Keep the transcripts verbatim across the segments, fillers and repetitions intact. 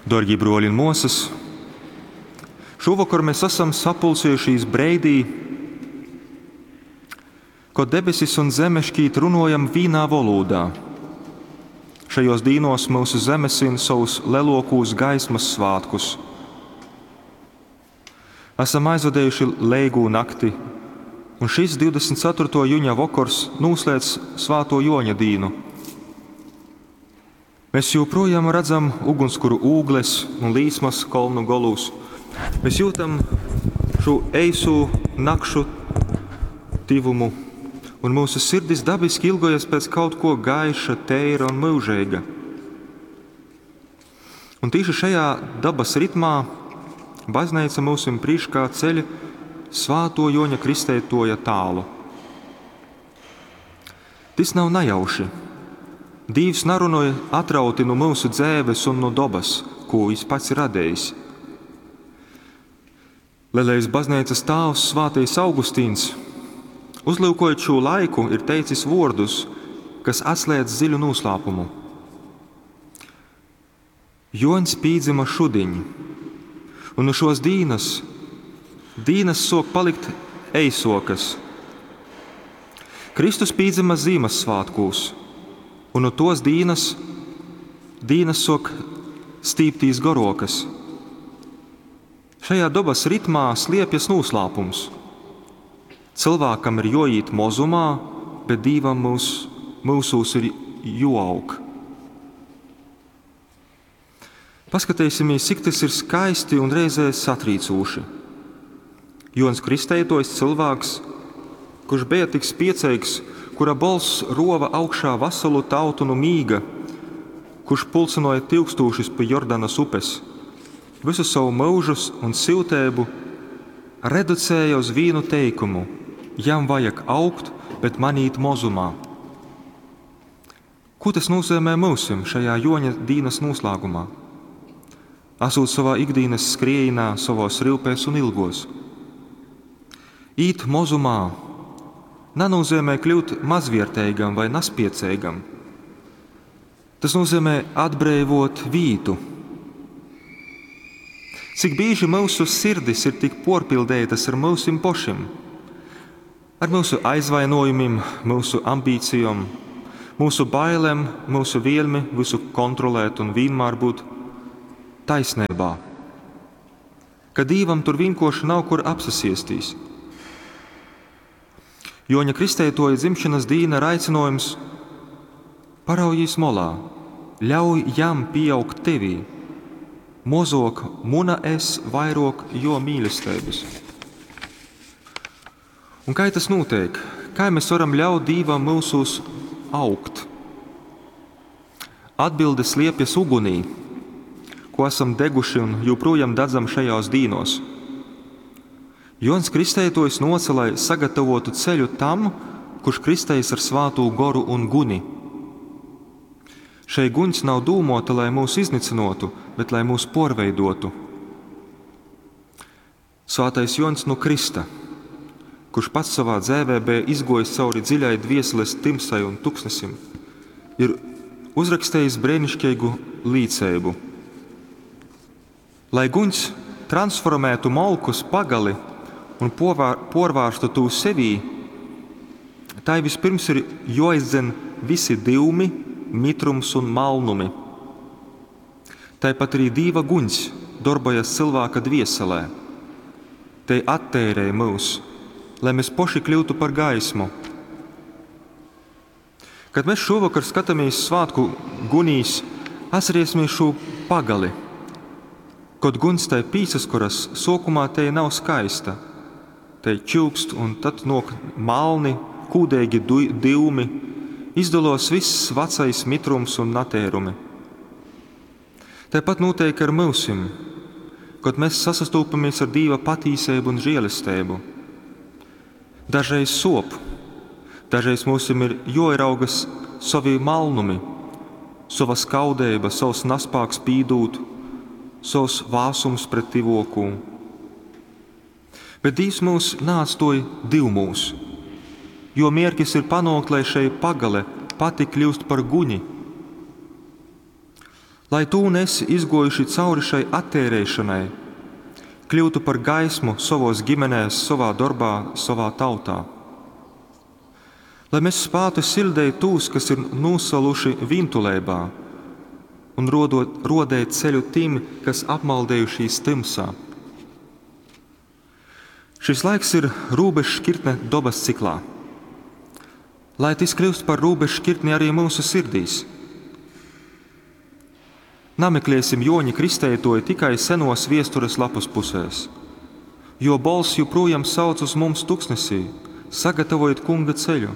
Dorgie bruoļi un muosys, šovakar mēs esam sapulcējušies breidī, kod debesis un zeme šķīt runojam vīnā volūdā. Šajos dīnos mūsu zeme svin savus lelokūs gaismas svātkus. Esam aizvadējuši Leigū nakti, un šis divdesmit ceturto juņa vokors noslēdz Svāto Joņa dīnu. Mēs joprojām redzam ugunskura ūgles un līsmas kolnu golūs. Mēs jūtam šo eisu nakšu tivumu, un mūsu sirdis dabiski ilgojas pēc kaut ko gaiša, teira un mūžīga. Un tieši šajā dabas ritmā baznīca mūsim priekšā ceļ Svāto Joņa Kristētoja tālu. Tas nav nejauši. Dīvs narunoja atrauti no mūsu dzēves un no dobas, ko viņš pats ir radējis. Lielais baznīcas tāvs Svātais Augustīns, uzlūkojot šo laiku, ir teicis vārdus, kas atslēdz dziļu noslēpumu. Joņs pīdzima šudiņ, un no šos dīnas, dīnas sok palikt eisokas. Kristus pīdzima Zīmassvētkūs, un no tos dīnas, dīnas sok stīptīs garokas. Šajā dabas ritmā sliepjas noslēpums. Cilvēkam ir joīt mozumā, bet Dīvam mūs, mūsūs ir joaug. Paskatīsimies, cik tas ir skaisti un reizē satrīcoši. Jons Kristeitojs cilvēks, kurš bija tik spiecīgs, kura balss rova augšā veselu tautu no mīga, kurš pulcinoja tūkstošus pie Jordanas upes, visu savu mūžus un siltēbu reducēja uz vienu teikumu: jam vajag augt, bet manīt mozumā. Ko tas nozīmē mūsim šajā Joņa dīnas noslēgumā? Esot savā ikdienas skriejinā, savos rūpēs un ilgos. Īt mozumā nenozīmē kļūt mazvērtīgam vai naspiecīgam. Tas nozīmē atbrīvot vītu. Cik bieži mūsu sirdis ir tik porpildētas ar mūsim pošim, ar mūsu aizvainojumiem, mūsu ambīcijām, mūsu bailēm, mūsu vēlmi visu kontrolēt un vienmēr būt taisnībā. Ka Dīvam tur vienkoši nav kur apsasiestīs. Joņa Kristētoja dzimšanas dīna ir aicinājums paraujīs molā, ļauj jam pieaugt tevī, mozok muna es vairok jo mīlestības. Un kā tas notiek? Kā mēs varam ļaut Dīvam mūsos augt? Atbilde sliepjas ugunī, ko esam deguši un joprojām dedzam šajos dīnos. Jons Kristētojs noca, lai sagatavotu ceļu tam, kurš kristējas ar svāto goru un guni. Šai guņs nav dūmota, lai mūs iznicinotu, bet lai mūs porveidotu. Svātais Jons no Krista, kurš pats savā dzēvē bija izgojis cauri dziļai dvieseles timsai un tuksnesim, ir uzrakstījis brēnišķīgu līdzību. Lai guņs transformētu molkus pagali un porvār-, porvārstu tū sevī, tai vispirms ir joizdzen visi dyumi, mitrums un malnumi. Tāpat arī Dīva guņs darbojas cilvēka dvieselē. Te attērē mūs, lai mēs poši kļūtu par gaismu. Kad mēs šovakar skatāmies svētku gunīs, atcerēsimies šo pagali. Kad guns tai pīsas, kuras sokumā te nav skaista, te čūkst un tad nok malni, kūdīgi du-, dyumi, izdalos viss vecais mitrums un natērumi. Tāpat notiek ar mūsim, kad mēs sasastūpamies ar Dīva patīsību un žēlastību. Dažreiz sop, dažreiz mūsim ir joieraugas savi malnumi, sava skaudība, savs naspāks pīdūt, savs vāsums pret tivokū. Bet Dīvs mūs nāstoja divmūs, jo mierkis ir panākt, lai šai pagale pati kļūst par guņi. Lai tu un esi izguojuši cauri šai atteireišonai, kļūtu par gaismu sovos ģimenēs, sovā dorbā, sovā tautā. Lai mēs spātu siļdeit tūs, kas ir nūsaluši vīntuleibā, un rodot, rodēt ceļu tim, kas apmaldējušies tymsā. Šis laiks ir rūbežšķirtne dobas ciklā. Lai tys kļūst par rūbežšķirtni arī mūsu sirdīs. Nameklēsim Joņa Kristeitoju tikai senos viestures lapas pusēs, jo bolss joprojām sauc uz mums tuksnesī: sagatavojiet kunga ceļu.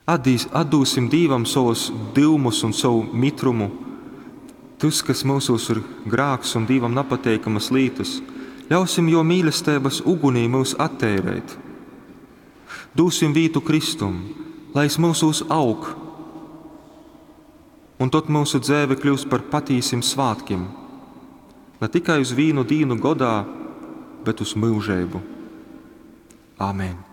Atdīs, atdūsim Dīvam savus dyumus un savu mitrumu, tas, kas mūsos ir grāks un Dīvam napateikamas lītas, ļausim jo mīlestības ugunī mūs atteirēt. Dūsim vītu Kristum, lai es mūsos aug, un tad mūsu dzēve kļūst par patīsim svātkim, ne tikai uz vīnu dīnu godā, bet uz mūžību. Āmen!